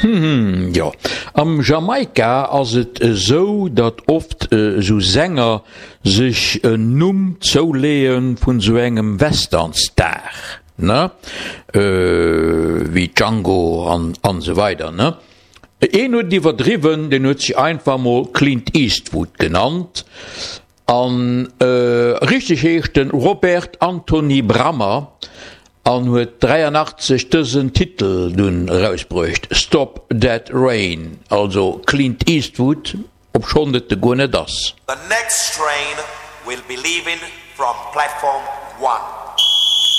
Hm, jo. Am Jamaika ass et esou, datt oft esou Sänger sech en Numm zouleeë vun esou engem Western-Star, ne? Wéi Django an esou weider, ne? Een huet et iwwerdriwwen, deen huet sech einfach mol Clint Eastwood genannt. An richteg heescht en Robert Anthony Brammer an huet 83 dësen Titel dunn erausbruecht, Stop That Rain, also Clint Eastwood, obschonn et e guer net ass. The next train will be leaving from platform one.